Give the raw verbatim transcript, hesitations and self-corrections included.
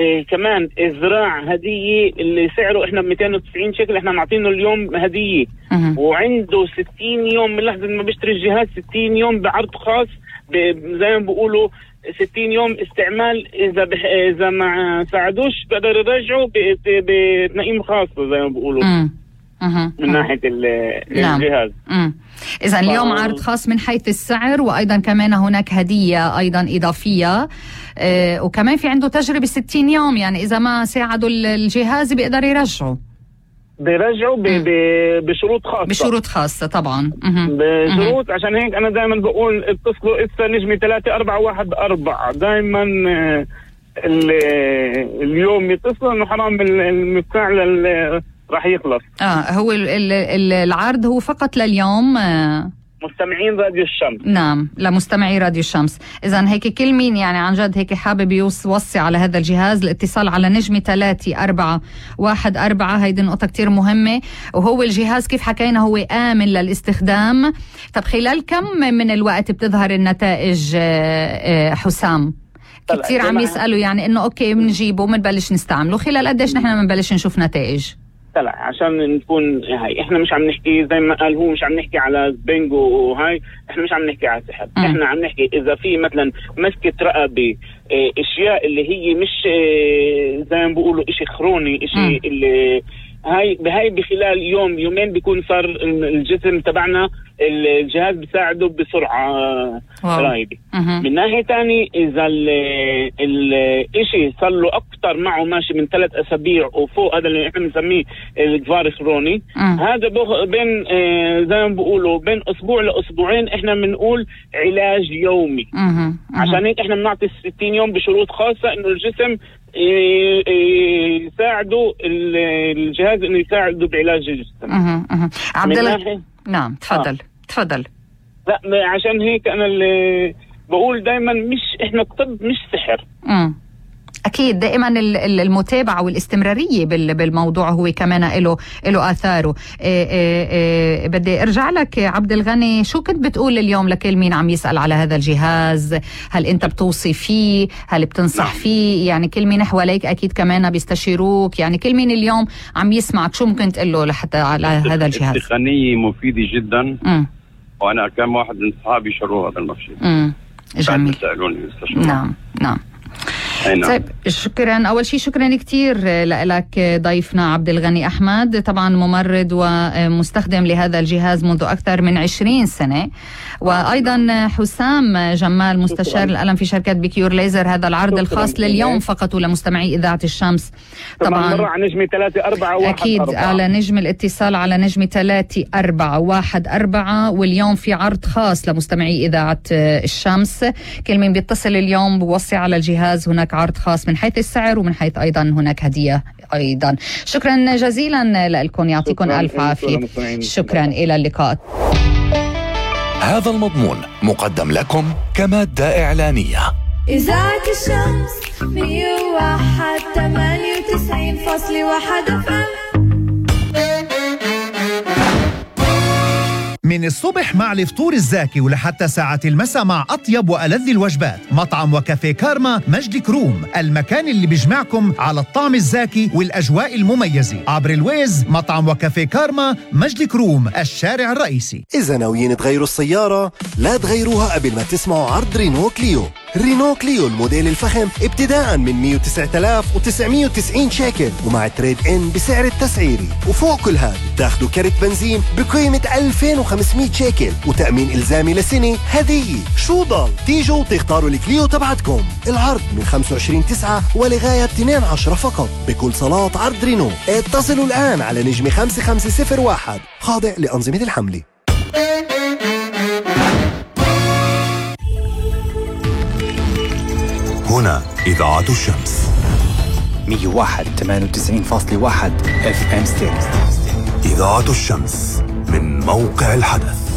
إيه كمان الزراع هدية اللي سعره احنا ب مئتين وتسعين شكل، احنا معطينه اليوم هدية. م- وعنده ستين يوم من لحظة ما بيشتري الجهاز، ستين يوم بعرض خاص زي ما بيقولوا، ستين يوم استعمال. اذا بح... اذا ما ساعدوش بقدر يرجعوا بتنقيم خاصة زي ما بيقولوا من ناحية الجهاز. إذا اليوم عرض خاص من حيث السعر، وأيضا كمان هناك هدية أيضا إضافية، آه وكمان في عنده تجربة ستين يوم، يعني إذا ما ساعدوا الجهاز بيقدر يرجعوا بيرجعوا ب... ب... بشروط خاصة. بشروط خاصة طبعا. بشروط. عشان هيك أنا دائما بقول اتصلوا إسا نجمة ثلاثة أربعة واحد أربعة دائما. ال... اليوم يتصلوا إنه حرام المفاعل راح يخلص. اه هو ال ال العرض هو فقط لليوم. آه مستمعين راديو الشمس. نعم، لمستمعي راديو الشمس. إذن هيك كل مين يعني عن جد هيك حابب يوصي على هذا الجهاز، الاتصال على نجمة ثلاثة أربعة واحد أربعة. هيدي نقطة كتير مهمة. وهو الجهاز كيف حكينا هو آمن للاستخدام. طب خلال كم من الوقت بتظهر النتائج حسام؟ كتير عم يسألوا يعني إنه أوكي بنجيبه ومنبلش نستعمله، خلال قديش نحن منبلش نشوف نتائج؟ طلع عشان نكون هاي احنا مش عم نحكي زي ما قال هو، مش عم نحكي على بينجو وهاي، احنا مش عم نحكي على سحر. م. احنا عم نحكي اذا في مثلا مسكة رقبة، اه اشياء اللي هي مش اه زي ما بيقولوا اشي خروني، اشي م. اللي هاي بهاي بخلال يوم يومين بيكون صار الجسم تبعنا الجهاز بيساعده بسرعة رهيبة. من ناحية تاني إذا الاشي صار له أكتر معه ماشي من ثلاث أسابيع وفوق، هذا اللي احنا بنسميه الجفار الخروني، هذا بين اه زي ما بيقولوا بين أسبوع لأسبوعين احنا بنقول علاج يومي. مه. عشان هيك احنا بنعطي ستين يوم بشروط خاصة إنه الجسم يساعدوا الجهاز انه يساعدوا بعلاج الجسم. اها اها عبد الله. نعم تفضل. آه. تفضل. لا عشان هيك انا اللي بقول دائما مش احنا طب مش سحر. امم أكيد دائما المتابعة والاستمرارية بالموضوع هو كمان له له آثاره. إيه إيه إيه بدي أرجع لك عبد الغني، شو كنت بتقول اليوم لكل مين عم يسأل على هذا الجهاز؟ هل أنت بتوصي فيه؟ هل بتنصح فيه؟ يعني كل مين حواليك أكيد كمان بيستشيروك، يعني كل مين اليوم عم يسمعك شو ممكن تقول له لحتى على هذا الجهاز؟ التقنية مفيدة جدا. م. وأنا كم واحد من صحابي شروا هذا المرشد. امم جميل. نعم نعم. طيب شكرا. أول شيء شكرا كتير لك ضيفنا عبد الغني أحمد، طبعا ممرض ومستخدم لهذا الجهاز منذ أكثر من عشرين سنة، وأيضا حسام جمال مستشار الألم في شركة بيكيور ليزر. هذا العرض الخاص لليوم فقط ولمستمعي إذاعة الشمس. طبعا على نجمة ثلاثة أربعة واحد أكيد أربعة. على نجم الاتصال على نجمة ثلاثة أربعة واحد أربعة. واليوم في عرض خاص لمستمعي إذاعة الشمس. كل من بيتصل اليوم بوصي على الجهاز هناك عرض خاص من حيث السعر ومن حيث أيضا هناك هدية أيضا. شكرا جزيلا لكم، يعطيكم ألف عافية. شكرا، إلى اللقاء. هذا المضمون مقدم لكم كمادة إعلانية. إذاعة الشمس مية وواحد ثمانية وتسعين فاصلة واحد اف ام. من الصبح مع الفطور الزاكي ولحتى ساعة المساء مع أطيب وألذ الوجبات. مطعم وكافيه كارما مجد كروم، المكان اللي بيجمعكم على الطعم الزاكي والأجواء المميزة. عبر الويز مطعم وكافيه كارما مجد كروم، الشارع الرئيسي. إذا ناويين تغيروا السيارة لا تغيروها قبل ما تسمعوا عرض رينو كليو. رينو كليو الموديل الفخم ابتداء من مية وتسعة آلاف وتسعمية وتسعين شيكل ومع تريد إن بسعر التسعيري. وفوق كل هذا تاخدوا كرت بنزين بقيمة ألفين وخمسمية شيكل وتأمين إلزامي لسنة هدية. شو ضل؟ تيجوا تختاروا الكليو تبعتكم. العرض من خمسة وعشرين تسعة ولغاية اثنين عشرة فقط بكل صالات عرض رينو. اتصلوا الآن على نجمة خمسة خمسة صفر واحد، خاضع لأنظمة الحملة. هنا إذاعة الشمس مية وواحد ثمانية وتسعين فاصلة واحد اف ام ستيريو. إذاعة الشمس من موقع الحدث.